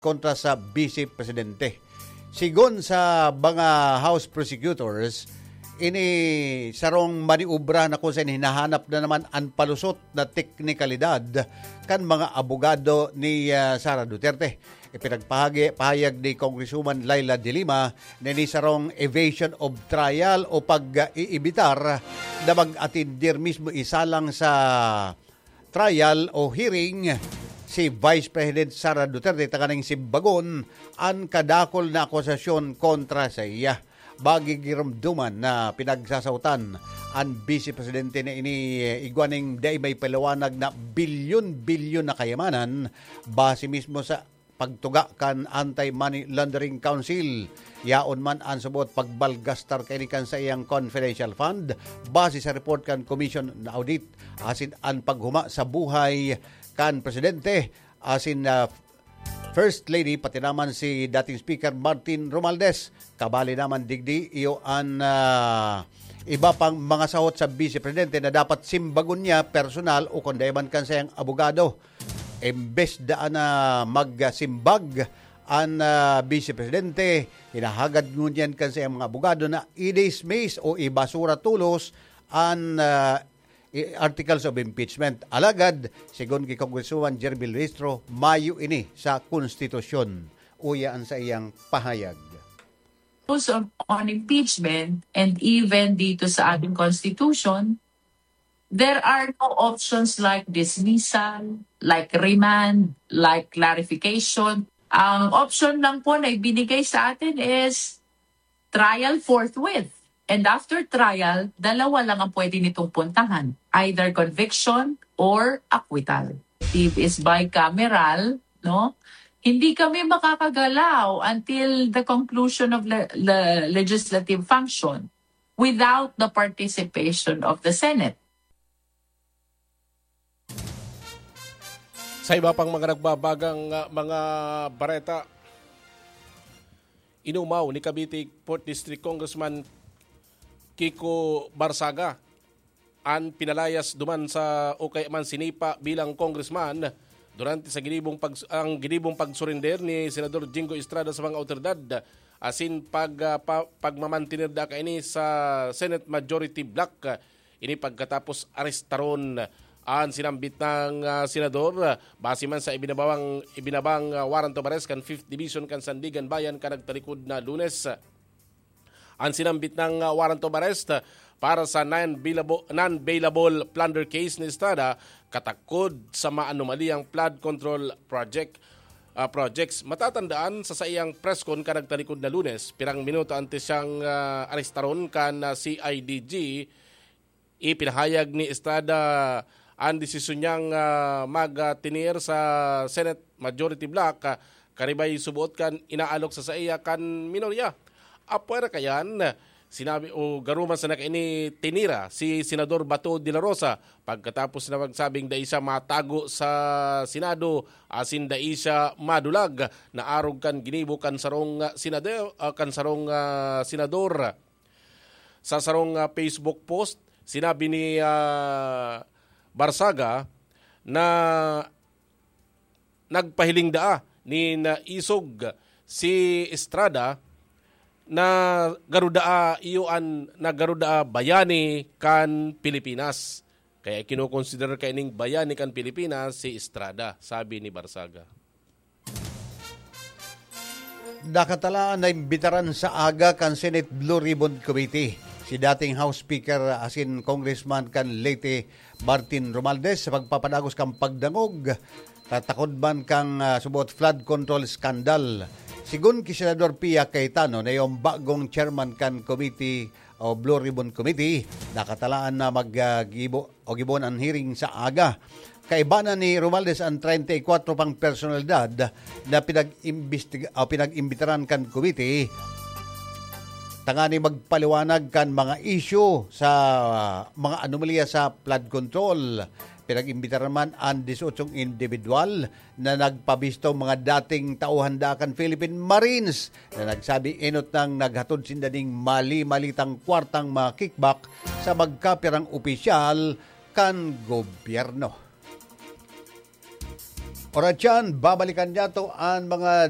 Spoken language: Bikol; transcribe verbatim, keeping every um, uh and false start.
kontra sa Vice Presidente. Sigon sa mga House prosecutors, ini sarong maniobra na kung saan hinahanap na naman an palusot na teknikalidad kan mga abogado ni, ah, Sara Duterte. Ipinagpahagi-, pahayag ni Congresswoman Leila de Lima na ini sarong evasion of trial o pag-iibitar na mag-atendir mismo isalang sa trial o hearing si Vice President Sara Duterte tanganing simbagon an kadakul na akusasyon kontra sa iya. Magigiromdoman na pinagsasautan an Vice Presidente na ini, eh, igwa ning dai may paliwanag na bilyon-bilyon na kayamanan base mismo sa pagtuga kan Anti-Money Laundering Council. Yaon man an subot pagbalgastar kaini kan saiyang confidential fund base sa report kan Commission na Audit asin an paghuma sa buhay kan presidente asin, ah, First Lady, pati naman si dating Speaker Martin Romualdez. Kabali naman digdi iyo an, ah, iba pang mga sahot sa Vice Presidente na dapat simbagon niya personal o kung dai man kan saiyang abogado. Imbes daan na magsimbag an, ah, Vice Presidente, hinahagad ngunyan kan saiyang mga abogado na i-dismiss o ibasura tolos an, ah, i-, articles of impeachment. Alagad, sigon ki Congresswoman Jerby Luistro, mayo ini sa konstitusyon. Uya an saiyang pahayag. Rules on, on impeachment and even dito sa ating constitution, there are no options like dismissal, like remand, like clarification. Ang option lang po na ibinigay sa atin is trial forthwith. And after trial, dalawa lang ang pwede nitong puntahan, either conviction or acquittal. It is bicameral, no? Hindi kami makakagalaw until the conclusion of le-, le-, legislative function without the participation of the Senate. Sa iba pang mga nagbabagang, ah, mga bareta, inumaw ni Cavite Fourth District Congressman Kiko Barsaga an pinalayas duman sa, o kaya man sinipa bilang congressman durante sa ginibong pag-, ang ginibong pagsurrender ni Senador Jingo Estrada sa mga awtoridad asin pag, ah, pa-, pagmamantener da kaini sa Senate Majority Bloc. Ini pagkatapos arestaron an sinambit nang, ah, senador, ah, base man sa ibinabawang, ibinabang, ah, warrant of arrest kan Fifth Division kan Sandiganbayan kan nagtalikod na Lunes. An sinambit nang, ah, warrant of arrest, ah, para sa non-bailable, non-bailable plunder case ni Estrada katakod sa maanomaliyang flood control project, ah, projects. Matatandaan, sa saiyang press con kan nagtalikod na Lunes, pirang minuto antes siyang, ah, arestaron kan, ah, C I D G, ipinahayag ni Estrada an desisyon niyang, ah, magtinir sa Senate Majority Bloc, ah, karibay suboot kan inaalok sa saiya kan minorya. Apwera kayan, sinabi o garuman sa nakaini tinira si Senador Bato de la Rosa pagkatapos na magsabing dai siya matago sa Senado asin dai siya madulag na arog kan ginibo kan sarong, ah, senado-, ah, kan sarong, ah, senador. Sa sarong, ah, Facebook post, sinabi ni, ah, Barsaga na nagpahiling daa nin isog si Estrada na garo daa iyo an, na garo daa bayani kan Pilipinas. Kaya kinokonsiderar kaining bayani kan Pilipinas si Estrada, sabi ni Barsaga. Nakatalaan na imbitaran sa aga kan Senate Blue Ribbon Committee si dating House Speaker asin Congressman kan Leyte, Martin Romualdez, sa pagpapadagos kan pagdangog, tatakod man kan, ah, subot flood control scandal. Sigon ki Senador Pia Cayetano na iyong bagong chairman kan committee o Blue Ribbon Committee, nakatalaan na mag, ah, gibo o gibon an hearing sa aga. Kaiba na ni Romualdez an treinta y cuatro pang personalidad na pinag-imbestiga-, o pinag-imbitaran kan komite tangani magpaliwanag kan mga isyu sa mga anomalya sa flood control. Pinag-imbitaran man an dieciocho individual na nagpabisto, mga dating tauhan da kan Philippine Marines, na nagsabi enot nang naghatod sinda ning mali-malitang kwartang mga kickback sa magkapirang opisyal kan gobyerno. Oras yan, babalikan niyato an mga